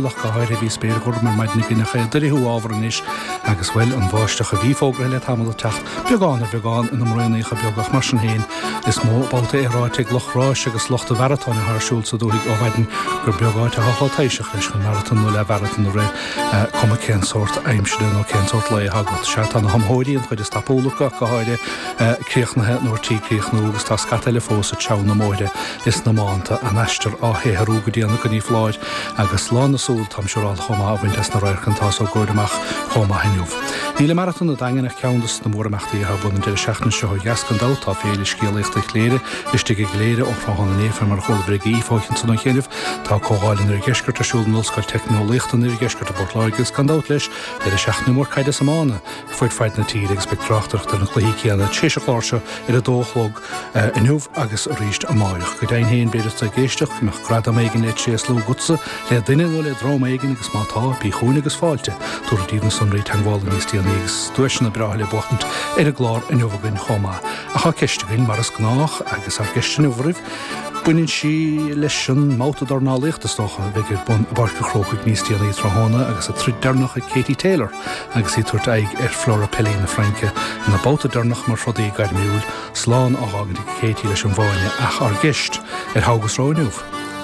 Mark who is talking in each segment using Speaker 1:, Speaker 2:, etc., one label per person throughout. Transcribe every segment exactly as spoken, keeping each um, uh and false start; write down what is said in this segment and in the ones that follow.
Speaker 1: Ach go háirithe bhí spéir ghorm ar maidin againn ach é ag dorchú ábhar anois agus bhuel an bháisteach a bhí fógartha le tamall ag teacht beagán ar bheagán ina mbraonacha beaga ach mar sin féin is mó babhta é ráite ag lucht ráis agus lucht an mharatóin atá ar siúl sa dúthaigh ó mhaidin gur beag áit atá chomh taibhseach leis chun maratón nó leathmharatón a rith cuma cén sórt aimsire nó cén sórt lae atá agat. Sea tá na hiomaitheoirí an chuid is tapúla acu ach go háirithe críochnaithe nó ar tí críochnú agus tá scata eile fós ag treabhadh na mbóithre is na mbánta an aistear á shaothrú go dian acu ní foláir agus lán na súl táim siúráilte chomh maith a bhaint as na radharcanna atá á gcur amach chomh maith inniu. Níl an Maratón an Daingin ach ceann de na mórimeachtaí atá ar bun an deireadh seachtaine seo ó dheas gan dabht tá Féile Scéalaíochta Chléire istigh i gCléire ó thráthnóna inné fé mar a chualabhair ag Aoife ansan ó chianaibh. Tá Comhdháil an Oirdheiscirt ar siúl in Ollscoil Teicneolaíochta an Oirdheiscirt i bPort Láirge agus gan dabht leis deireadh seachtaine mór caide is iomána fud fad na tíre agus beidh tráchtaireacht ar na cluichí céanna tar éis an chláir seo ar a dó a chlog inniu agus arís amárach. Go deimhin féin b'fhéidir tú ag éisteacht go mbeadh gradam éigin le tréaslú agatsa le duine nó le dream éigin agus má tá, bí chugainn agus fáilte. Tabharfar daoibh na sonraí teagmhála níos déanaí agus duaiseanna breátha le buachtaint ar an gclár inniu againn chomh maith. Ach tá ceist againn mar is gnách agus ár gceist inniu oraibh, baineann sí leis an mbabhta dornálaíochta is dócha a bheidh ar bun i bPáirc an Chrócaigh níos déanaí tráthnóna agus a troid deireanach ag Katie Taylor agus í ag tabhairt aghaidh ar Flora Pelly na Fraince ina babhta deireanach mar throdaí gairmiúil, slán á fhágaint ag Katie leis an bhfáinne ach ár gceist ar Thogh agus Rogha inniu.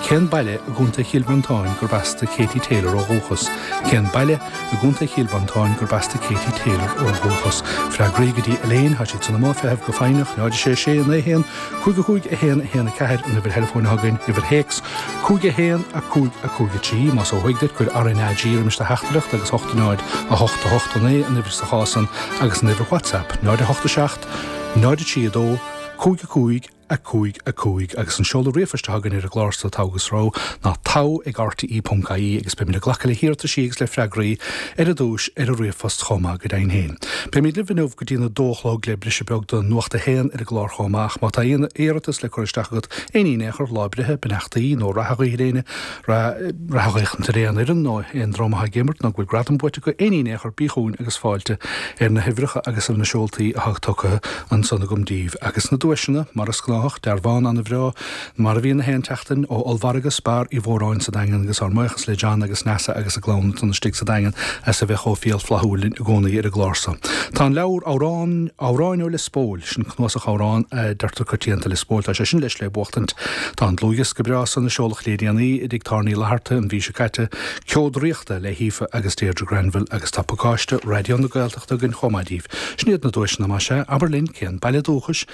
Speaker 1: Cén baile i gContae Chill Mhantáin gurb as do Katie Taylor ó dhúchas? Cén baile i gContae Chill Mhantáin gurb as do Katie Taylor ó dhúchas? Freagraí go dtí Elaine, tá siad san i mbun feithimh go foighneach, náid sé sé naoi haon cúig a cúig a haon a haon a ceathair an uimhir theileafóin atá againn, uimhir théacs cúig a haon a cúig a cúig a trí, más ó thuaidh duit, cuir RnaG roimis do theachtaireacht agus hocht náid a hocht a hocht a naoi an uimhir sa chás san agus an uimhir WhatsApp náid a hocht a seacht náid a trí a dó cúig a cúig a cúig a cúig agus an seoladh ríomhphoist atá againn ar an gclár seo Togh agus Rogha ná togh ag rte ponc ie agus beimid ag glacadh le hiarrataisí agus le freagraí ar dtús ar an ríomhphost chomh maith go deimhin féin. Beimid libh inniu go dtí'n a dó a chlog le briseadh beag do Nuacht a haon ar an gclár chomh maith ach má tá aon iarratas le cur isteach agat aon ní in aon chor, lá breithe, beannachtaí nó rath a ghuí ar éinne, rath a ghuí ar aon fhoireann nó aon dream atá ag imirt nó go bhfuil gradam buaite acu, aon ní in aon chor, bí chugainn agus fáilte ar na huimhreacha agus ar na seoltaí atá tugtha ansan agam daoibh. Agus na duaiseanna, mar is gnách, dearbhán an-bhreá, mar a bhíonn na haon tseachtain, ó ollmhargadh Spar Uí Mhóráin sa Daingean agus ár mbuíochas le John agus Neasa agus a gclann atá istigh sa Daingean as a bheith chomh fial flaithiúil linn i gcónaí ar an gclár seo. Tá an leabhar Amhrán, Amhráin ó Lios Póil, sin cnuasach amhrán a deirtear coitianta Lios Póil, tá sé sin leis le buachtaint. Tá an dlúthdhiosca breá san a seoladh le déanaí i dTigh Tábhairne Uí Fhlatharta an mhí seo caite, Ceo Draíochta le hAoife agus Deirdre Granville agus tá pacáiste Raidió na Gaeltachta againn chomh maith daoibh. Sin iad na duaiseanna más ea, abair linn cén baile dúchais,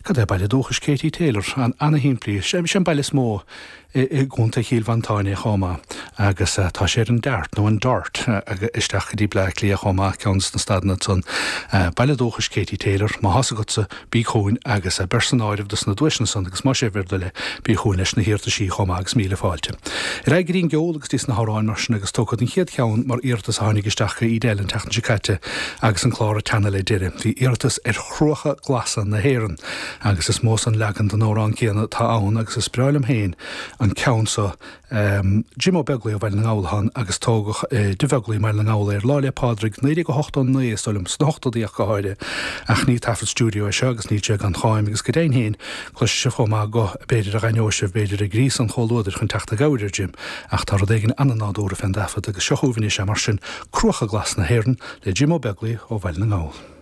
Speaker 1: Cad é baile dúchais Katie Taylor? An-shimplí. Sé an baile is mó i gContae Chill Mhantáin é chomh maith agus tá sé ar an Dart nó an Dart isteach go dtí Bleá Cliath chomh maith, ceann de na stadanna ansan. Baile dúchais Katie Taylor. Má thá's agatsa, bí chugainn agus beir san áireamh dos na duaiseanna san agus más é bhur dtoil é, bí chugainn leis na hiarrataisí chomh maith agus míle fáilte. Ar aghaidh go dtí an gceol agus dtí na hamhráin mar sin agus tógfad an chéad cheann mar iarratas a tháinig isteach go Edel an tseachtain seo caite agus an clár ag teannadh le deireadh. Bhí iarratas ar Chruacha Glasa na hÉireann agus is mó san leagan den amhrán céanna atá ann agus is breá liom féin an ceann so. Jim Ó Beaglaoich ó Bhaile na nGall atá ann agus tógadh i dTigh Bheaglaoich i mBaile na nGall é ar Lá 'le Pádraig naoi déag ochtó naoi is dóigh liom, sna hochtóidí ach go háirithe. Ach ní taifead stiúideo é seo agus níl sé gan cháim agus go deimhin féin cloisfidh sibh chomh maith guth b'fhéidir a dh'aithneodh sibh b'fhéidir ag gríosadh an chomhluadair chun teacht i gcabhair ar Jim ach tá rud éigin an-nádúrtha fén dtaifead agus seo chugaibh anois é mar sin Cruacha Glasa na hÉireann le Jim Ó Beaglaoich ó Bhaile na nGall.